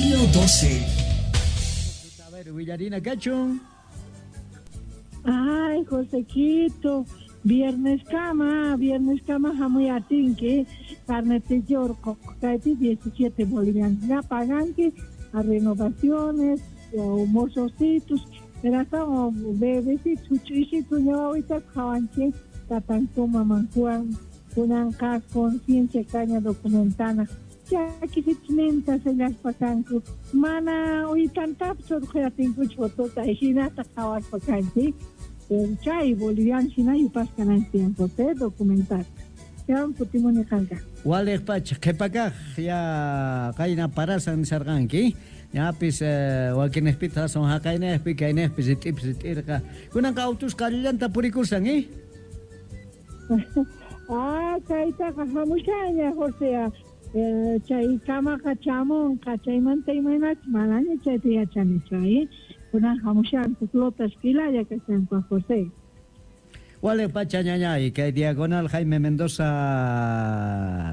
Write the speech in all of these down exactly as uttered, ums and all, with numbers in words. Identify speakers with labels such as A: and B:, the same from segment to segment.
A: Estilo doce.
B: A ver, Villarina Cachun.
C: Ay, Josequito, viernes cama, viernes cama, jamuyatinki, carnetillo, kaypi diecisiete bolivianos, ya paganki a renovaciones, o mozocitos, pero hasta bebecitos, chuchisitos, ñawawita, jawanchi, tatanku, mamankuan, kunanqa conciencia caña documentana. Chakisitninta sellaspa kanku, mana uytantapis urqhuyatinkuchu fotota, hinata qhawaspa kanchik. Chay boliviano hina yupasqa kananchik José documentar. Chawan kutimuni qanqa.
B: Waliq pacha qhipakaq ya qayna parasan nisarqanki. Ñapis wakinejpita son haqaynejpi kaynejpi rit'ipis rit'irqa. Kunanqa autusqa allillanta purikusan, eh?
C: Ah, kaytaqa hamushaña José. Chay kamaqa chamunqa chaymanta imaynachus manaña chayta yachanichu, eh? Kunan hamushanku flotas pilalla kashanku José.
B: Wale pacha ñañay kay diagonal Jaime Mendoza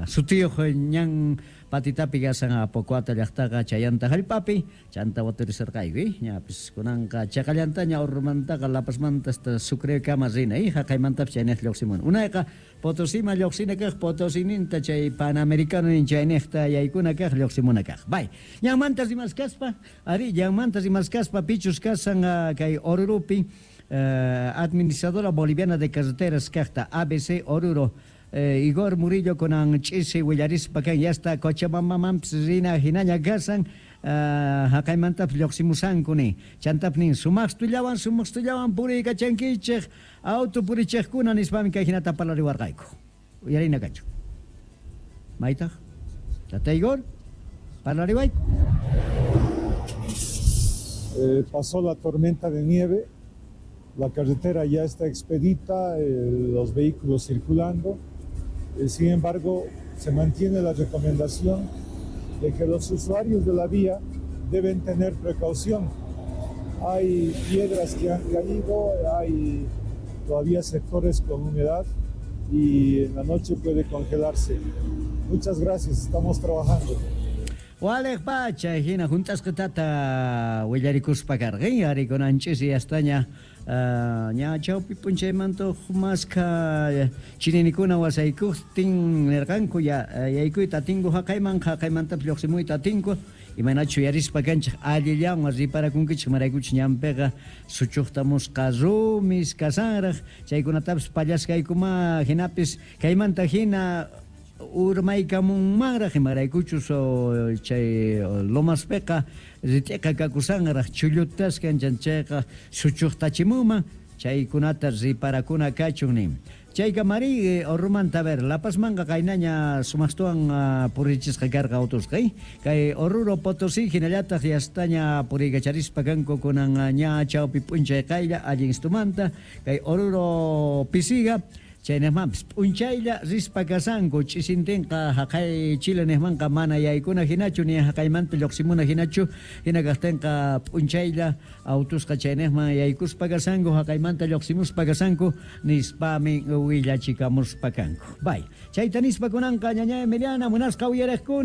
B: sutiyuq ñan patitapi kasan Apocuata llaqtaqa chayanta hallp'api chanta waturisarqayku, ñapis kunanqa chaqallantaña Orromantaqa La Pazmanta hasta Sucrekama rina, eh, haqaymantapis chayniqta lluqsimun. Unayqa Potosima lluqsina kaq Potosininta chay Panamericano nin chayniqta yaykuna kaq lluqsimuna kaq. Bay, ñanmanta rimaskaspa, ari ñanmanta rimaskaspa pichus kasan kay Oruropi eh, administradora boliviana de carreteras kaqta A B C Oruro eh, Igor Murillo kunan ch'isi willarispa kan ya está Cochabambamanpis rina hinaña kasan uh, haqaymantapis lluqsimusanku nin chantapis nin sumaqstullawan sumaqstullawan puriykachankichik auto purichiqkuna nispami kay hinata parlariwarqayku. Uyarina kachu. Maytaq tata Igor parlariwayku.
D: Eh, pasó la tormenta de nieve. La carretera ya está expedita, eh, los vehículos circulando. Eh, sin embargo, se mantiene la recomendación de que los usuarios de la vía deben tener precaución. Hay piedras que han caído, hay todavía sectores con humedad y en la noche puede congelarse. Muchas gracias, estamos trabajando.
B: Waliq pacha, hina juntasqa tata willarikuspa karqan, arikunanchis yastaña ña chawpi p'unchaymanta maskha chininikuna wasaykuqtin nirqanku ya yaykuyta atinku haqayman haqaymantapis lluqsimuyta atinku imaynachu yarispa kanchik allillanwan riparakunkichik maraykuchik ñanpiqa suchuqtamusqa rumis kasanraq chaykunatapis pallasqaykuma hinapis kaymanta hina urmaykamunmanraq imaraykuchus chay lomaspiqa rit'iqa kakusanraq chullutasqa chayqa suchuqtachimunman chaykunata riparakuna kachun nin. Chayqa mari Orromanta ver La Pazmanqa qaynaña sumaqtuwan purichisqa karqa autusqa kay Oruro Potosí hinallataq yastaña puriykacharispa kanku kunan ña chawpi p'unchay qaylla allin istumanta kay Oruro Pisiga chaynejmanpis p'unchaylla rispa kasanku ch'isintinqa haqay Chile nejmanqa mana yaykuna hinachu ni haqaymanta lluqsimuna hinachu hina kaqtinqa p'unchaylla autusqa chaynejman yaykuspa kasanku haqaymanta lluqsimuspa kasanku nispami willachikamuspa kanku. Bay, chayta nispa kunanqa ñaña Emiliana munasqa uyariqkuna.